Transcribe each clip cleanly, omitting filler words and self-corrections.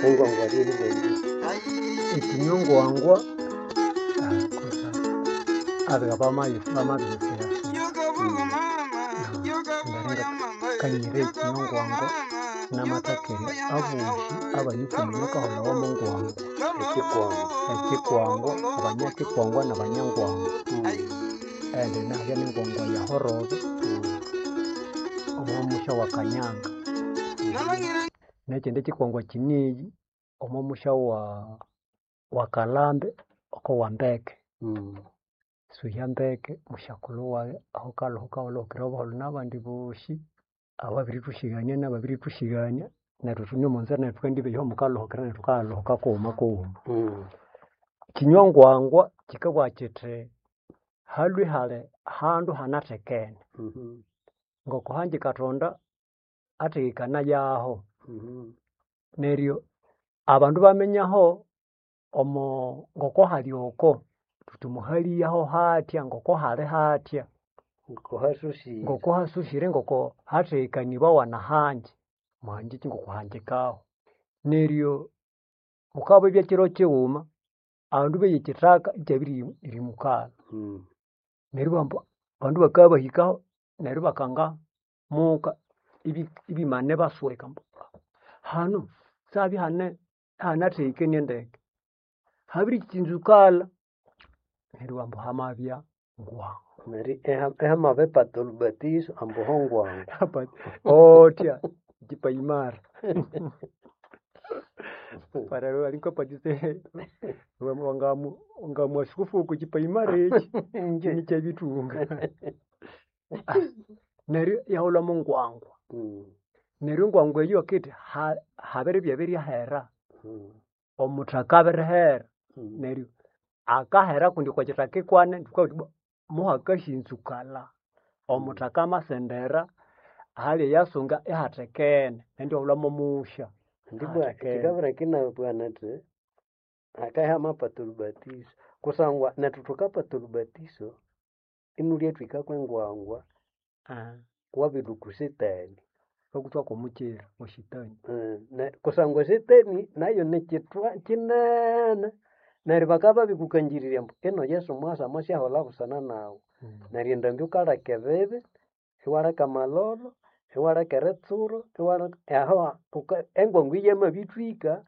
Engwangwa lyeribwa Ekinywa-ngwangwa abiga bamabirisighasira kanyire ekinywa-ngwangwa namathakerya abosi abayikumi bakahulhawa mo ngwangwa. Ekikwangwa. Ekikwangwa, abanyakikwangwa na banyangwangwa. Indi habya nengwangwa yahorove omo musya wa Kanyanga. Nekyindi kikwangwa kyineyi omo musya wa Kalhambe oko Wambeke. Suhya ndeke musyakulhu wayi ahukalhuka akalhukira buholho nabandi bosi ababirithusyigania nababirithusyigania neryo ithune omo nzira neryo thukandibeya aho mukalhukira neryo thukayaluhuka kughuma kughuma. Kyinywa ngwangwa kyikabugha kyithi halhwe ihali ahandu ihanathekene. Ngoko hangi Kathonda athekekanayaho. Neryo abandu ibaminya ho omo ngoko hali oko thuthi muhaliyaho hathya ngoko hali hathya. Ngokohasosire. Ngoko hasosire ngoko hathekanibawa nahangi. Muhangiki ngokuhangikaho. Neryo mukabya kyiro kyighuma abandu beya ekyithaka ikyabirimukalha. Neryo ibabugha ambu abandu bakabya babahikaho neryo ibakanga muka ibimana ibasweka ambu hanu sihabye ihane ihanathekenie ndeke. Habirikyinzukalha neryo ibabugha ambu hamabya ngwangwa. Neryo ihamabipata olhubatizo ambu hongwangwa. Othya ekipaimara. Wangamwasukufu okwa kipaimara ekyi inikyabithunga. Neryo iyahulha mongwangwa. Neryo engwangwa eyo bakabugha bathi habiribya biryahera. Omuthaka abirihera. Neryo akahera kundi okwa kithaka ikwane thukabugha thuthi ibwa muhakasyinzukalha. Omuthaka amasendera ahali eyasunga ihathekene neryo iwahulha momusya Ndibwa ihathekene. kikabireka inabugha nyithi hakabya ihamapata olhubatizo kusangwa nethu thukapata olhubatizo imulyathwika kwengwangwa wabilhwa okwa setani. Ikakuthwa kwomukyira weshitani. Kusangwa esetani nayo nikyithwa kyinene neryo bakabya babirikukangirirya ambu ino Yesu mwasa amwasyaholha busana nawu. Neryo endambi wukaleka ebibi, iwaleka amalholo, iwaleka eritsuro, iwaleka aho engwangwa eyo yamabithwika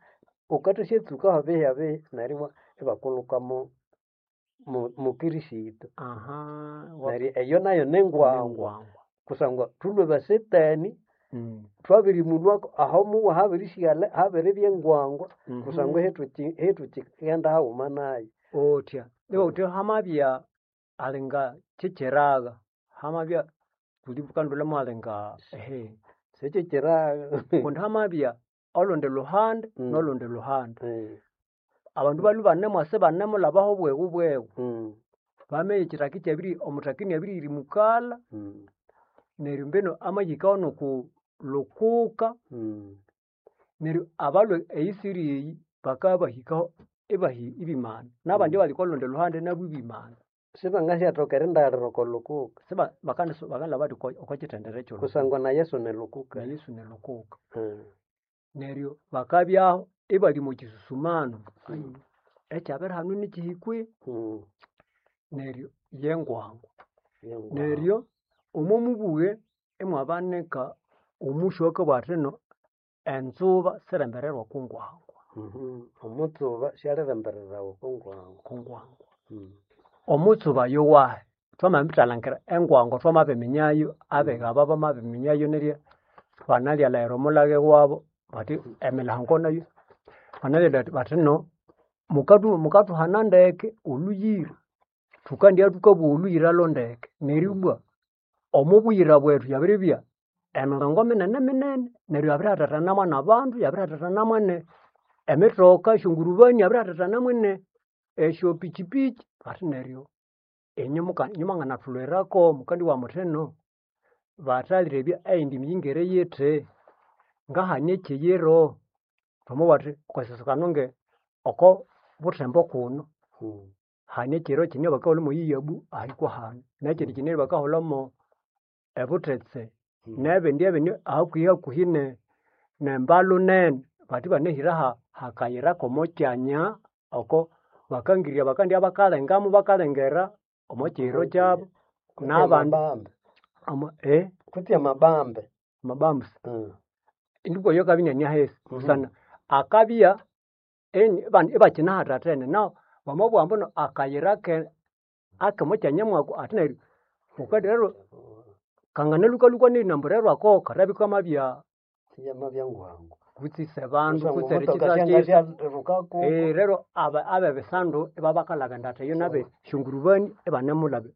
wukathasyatsukaho bihi neryo ibakulhuka mo mokristo. Neryo eyo nayo ningwangwa Ningwangwa. kusangwa thulhwe basetani thwabirimulhwako aho muwa habirisighalha habiribya engwangwa kusangwa ihithukighenda haghuma nayo. Othya ibabugha bathi hamabya alinga kyekyiraga, hamabya thukanalhwalha mwalinga Sikyekyiraga. Kundi hamabya olundi luhande nolundi luhande. Abandu balhwe ibanemwasa ibanemulhabaho bwegu bwegu. Bamegha ekyithaka ikyabiri omuthaka inabirihirimukalha neryo mbino amahikaho noku lukuka neryo abalhwe eyisiri eyi bakabahikaho ibimana. Nabandi abali okwa lundi luhande nabu ibimana. Sibangasyathoka erindaghirira oko lukuka. Siba bakalhaba bathi okwa kyithendere kyolukuka. Kusangwa na Yesu nilukuka. Na Yesu nilukuka. Neryo bakabyaho ibali omo kyisusumano. Ekyabiri hanu nikyihi kwihi? Neryo yengwangwa. Neryo omo mubughe imwabanika omusya owakabugha athino enzuba sirembererwa okwa ngwangwa. Omutsuba syalirembererawa okwa ngwangwa. Okwa ngwangwa. Omutsuba yowahi? Thwamabithalhangira engwangwa thwamabiminya abiga aba bamabiminya nirya banalyalayira omulhaghe wabo bathi emilhango nayo banalyalayira bathino mukathuhana ndeke olhuyira. Thukandibya thukabugha olhuyira lhondeke. Neryo ibwa omo buyira bwethu yabiribya emirongo minene minene neryo yabirihathathana mwanabandu, yabirihathathana mwene emithoka, esyongurubani, yabirihathathana mwene esyopikyipikyi bathi neryo inywe mwanganathulhwirako mukandibugha muthino bathalebya eyindi miyingire yithi? Ngahani ekyiyiro? Twamabugha thuthi okwasesekano nge oko Buthembo kuno hane ekyiro kine bakahulha mwe Iyabu ahikwa hanu nekyindi kine bakahulhamo ebuthetse nebindi ebindi hakuhi hakuhi ne Mbalu nene bathi banahiraha. Hakayira k'omo kyanya oko bakangirya bakandya bakalengamo bakalengera omo kiyiro kyabo Kutse n'abandi amabambe. ama Kutse amabambe. Amabambusa. Indikwa oyo akabya iniane ahisi busana akabya ibakinahathathene nahu wamabugha ambu akayira ke ak'omo kyanya mwako ati neryo wukalirero kanganalukalukwa nerinambu rero ako kathabya ikamabya Iyamabya ngwangu. kutse isebandu Kusangwa kutse omutoka erikitha syanga kisa. syalirukako. Rero abebisandu ibabakalaba endatha eyo nabe syongurubani ibanemulaba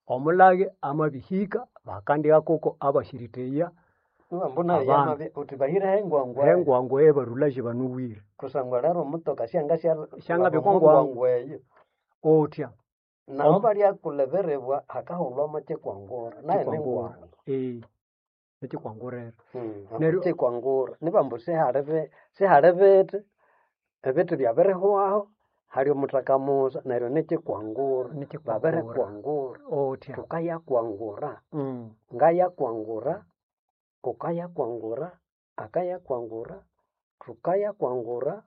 omulage amabihika bakandigha kuko abashiritheya Ibambu nayo abandu. yamabya uthi bahireho engwangwa eyo. Engwangwa eyebarulaje banuwire. Kusangwa rero omutoka syanga syalaba Syangabya omo okwa ngwangu. ngwangu eyo. Utya. Naho balyakulha ebiribwa hakahulhwamo kikwangura nayo Kikwangura. ningwangu. Ekikwangurira. Neryo Kikwangura nibambu sihali sihali bithi, ebithi byabirihwaho, hali omuthaka musa neryo nikikwangura. Nikikwangura. Babirikwangura. Utya. Thukayakwangura. Ngayakwangura, wukayakwangura, akayakwangura, thukayakwangura,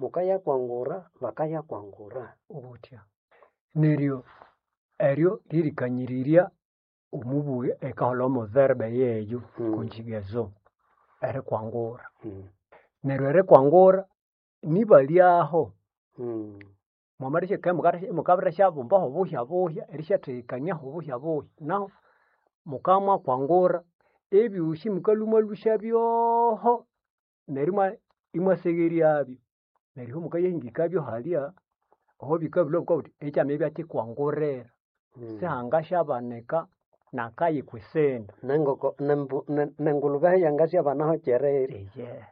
mukayakwangura, bakayakwangura. Utya. Neryo eryo lyerikanyirirya omubughĩ ekaholha omo verb yeyo conjugaison erikwangura. Neryo erikwangura nibalyaho mwamalihika mukabirisyabumbaho buhya buhya erisyathegekaniaho buhya buhya nahu mukamwakwangura ebyosi mukalhwa imwalhusya byoho neryo imwasegheryabyo neryo mukayahingikabyo halya aho bikabilhwa bukabugha buthi ekyamabya kikwangurira sihangasyabanika nakayi kwisindi. Nengoko nembu nengulhube yangasyabanaho kyereri. Eyehe.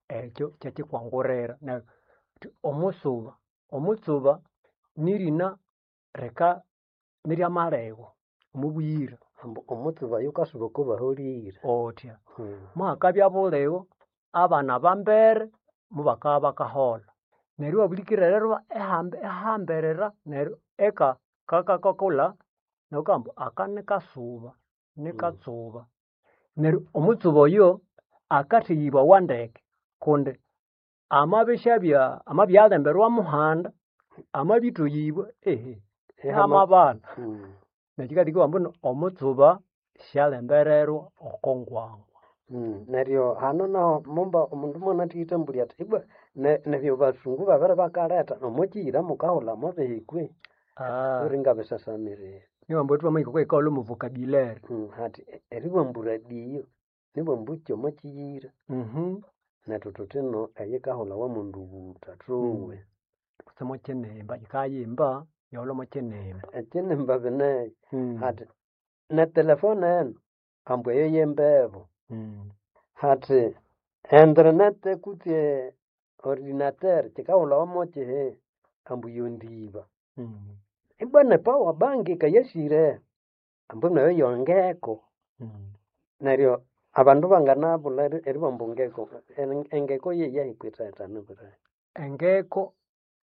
Ekyo kyekikwangurira neryo thuthi omusuba, omutsuba nirina rika niryamalhegho omubuyira. Ambu omutsuba yukasuba oko baholire. Utya. Muhakabya buligho abana bambere mubakabya bakaholha. Neryo iwabulikirira ihambirira neryo eka kakakulha neryo wukabugha ambu aka nikasuba, nikatsuba. Neryo omutsuba oyo akatheghibwawa ndeke kundi amabishabya amabya alemberwa muhanda, amabithoghibwa ihamabana. Nekyo kyikaleka ibabugha ambu omutsuba syalembererwa oko ngwangwa. Neryo hano naho mumba omundu mwanathighitambulya athi ibwa nebyo basungu babiribakalhetha omwa kiyira mukahulha mobihi kwe? Wulingabisasamirira. Nibabugha ambu thwamahika okwa yikaholha omo vocabulary. Hathi eribugha ambu radio nibugha ambu kyomo kiyira. Nethu thuthino eyikahulhawa mwendubutha thuwe. Kutse mwakinimba yikayimba yaholha mwakinimba. Ekinimba bineyo hathi netelefone eno ambu eyo yembebu. Hathi internet kutse ordinateur kyikahulhawa mokyihi ambu yondiba. Ibwa ne power bank yikayasire ambu nayo yongeko. Neryo abandu banganabulha eribugha ambu ngeko, engeko yeyahi kwithathana birahi? Engeko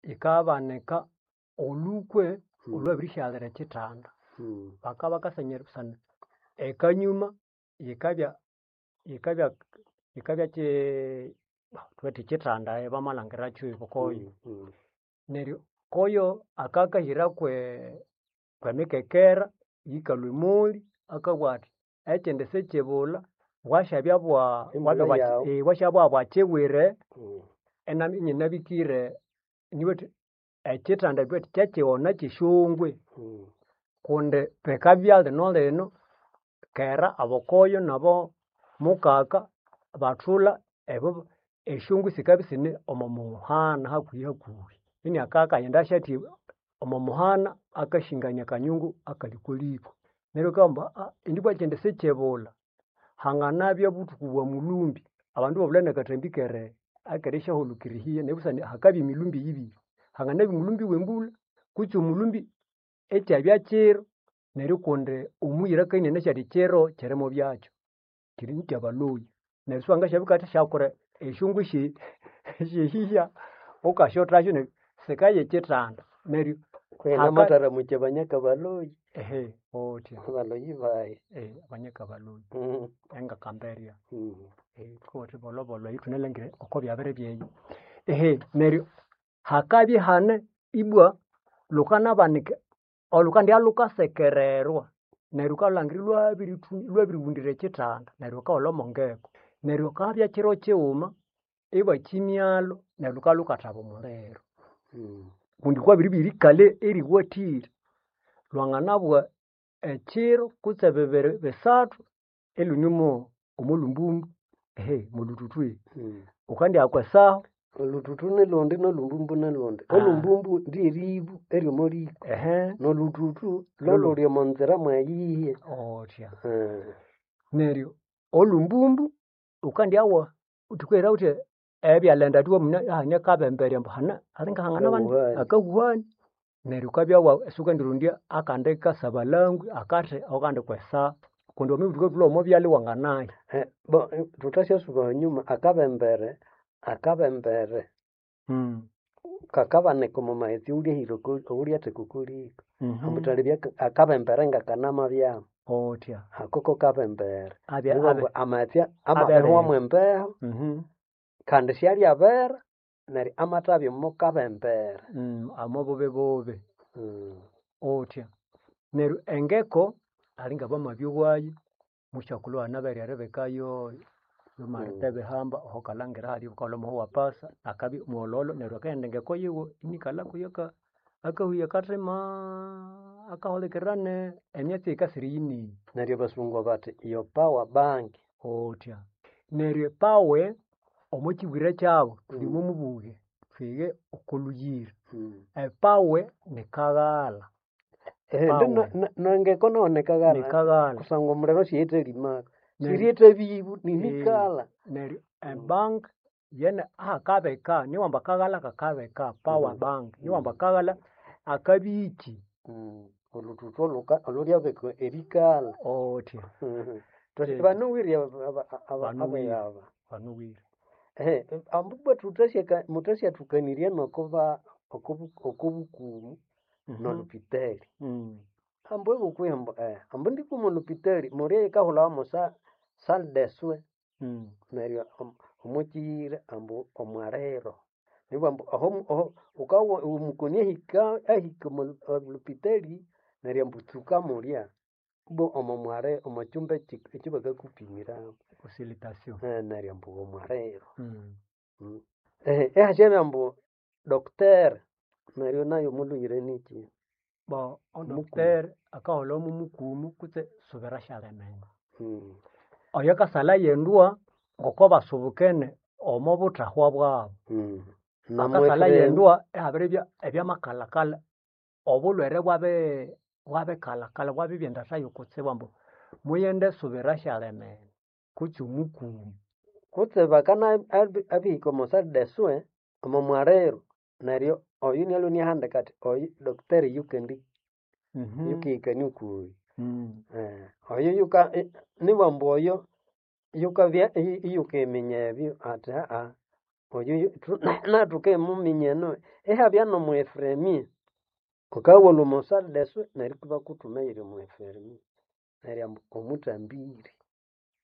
yikabanika olhukwe olhwabirisyalira ekyithanda. Bakabya bakasanya busana ekanyuma yikabya yikabya yikabya thubuthi kyithanda bamalhangirakyo koyo. Neryo koyo akakahira kwe kwemikekera yikalhwa emoli akabugha athi ekyindi sikyibulha bwasyabya bwa Embulha yawu. bwasyabya bwakyibwire inyinabikire nibugha athi ekyithanda thubughe kyekighona kyesyongwe kundi bikabya lino lino kera abokoyo nabo mukaka bathulha ebo esyongwe sikabya isine omo muhana hakuhi hakuhi. Iniakakaghenda asyathi omo muhana akashingania akanyungu akali okwa liko. Neryo wukabugha ambu indi ibwa ekyindi sikyibulha hanganabya buthuku bwa mulhumbi abandu ibabulha nakathambi kere akerisyahulikirira ehiya neryo busana hakabya emilhumbi yibiri. Hanganabya omulhumbi wembulha kutse omulhumbi ikyabya kiro neryo kundi omuyira akabya inianasi athi kiro kyiri mobyakyo kiri kyabalhoyi. Neryo siwangasyabya wukathasyakola esyongwe syehiya wukasyothasyo neryo sikaya ekyithanda neryo Kwina haka amatharamukya abanyaka baloyi. Ehe otya. Abaloyi bayi. Abanyakabaloyi engakamberya. Thukabuga thuthi bolhobolho eyo ithunalhangira oko byabere byeyo. Ehe neryo hakabya ihane ibwa lukanabanika olhukandibya lhukasekererwa neryo wukalhangira ilwabiriwundira ekithanda neryo wukaholha omo ngeko. Neryo hakabya kiro kighuma ibakimyalho neryo lhukabya lhukathaba omuliro. Kundi kwabiribya erikalha eriwathire. Lwanganabugha ekiro kutse bibiri bisathu ilhune omo omolhumbumbu omolhuthuthu. Wukandihaka esahu. Olhuthuthu nilhundi nolhumbumbu nilhundi. Olhumbumbu ryeribu eryomo liko nolhuthuthu lolhuli omo nzira mweyihi. Otya. Neryo olhumbumbu wukandyawa thukaghira thuthi ebyalha endata iwaminya ahane akabemberya ambu hane alinga hanganabanika akahuhani. Neryo wukabya isiwukandirondya akandi kasabalangwe akathi ako kandi kwesahu kundi wamabya thulhwe omo byalha iwanganaya. Bo thuthasyasuba ahanyuma akabembere akabembere kakabanika omo maghetse awulyahira awulyatheka oko liko. Ambu thalebya akabembere ngakanamabyamu. Otya. Ako kokabembere. Abya Nibabugha amaghetse amabirihwamu embeho kandi syalyabera neryo amathabya omo kabembere. Omo bubibubi. Otya. Neryo engeko alinga bamabyowayo musyakulhu anabere eribikayo marite bihamba aho wukalhangira halya wukaholha omuhu wa pasa akabya mwololo neryo akaghenda engeko yiwe inikalha kuyo akahuya akathimaa akahulikirira ne emyatsi eyikasira eyineiyo. Neryo abasungu bathi your power bank. Otya. Neryo epower omo kibwire kyabu thuli omo mubughwe thwighe oko lhuyira. Epower nikaghalha. Nengeko nayo nikaghalha Nikaghalha. kusangwa omuliro siyithalimako. Siriyetha bibu ninikala. Neryo ebank yene ahakabika niwamba akaghalha kakabika power bank niwamba akaghalha akabya iki. Olhuthuthu olhulyabika erikalha. Otya. Banuwire Banuwire. aba. Banuwire. Ambu ibwa muthasyathukanirya nokuba okobukumu nolhupitali. Ambu ibukwihi ambu ambu ndikuma olhupitali mulye yikahulhawa mo salle de soins neryo omo kiyira ambu omwaliro. Nibughambu ambu aho wukawa omukoni ahika ahika omo lhupitali neryo ambu tsuka mulya ibwa omo mwali omo kyumba ekyabakakupimiramu. Consultation. Neryo ambu omwaliro. Ihasyabya ambu doctor neryo nayo omolhuyira niki? Bo odoctor akaholha mumukumu kutse subira syalimene. Oyo akasalha yendwa ngoko basubukene omo buthahwa bwabu. Akasalha yendwa ihabiribya ebyamakalhakalha obulhwere bwabikalhakalha bwabibya endatha yokutsibu ambu mughende subira syalimene kutse omukumu. Kutse bakana abihika omo salle de soins omo mwaliro neryo oyu inalwa iniahandika athi oyu doctor yukendi yukihikania okoyu. Oyu yuka nibughambu oyo yukabya iyukiminya ebyo athi oyu nathukimuminya eno ihabya nomu infirmier. Wukabya omo salle de soins neryo ibakuthuma eyiri omu infirmier neryo ambu omuthambiri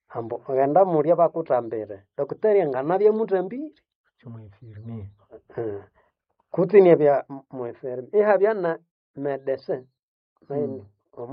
ambu ghenda mulya bakuthambire. Doctor anganabya muthambiri. Kutse omu infirmier. Kutse inabya mu infirmier ihabya na medecin nayo.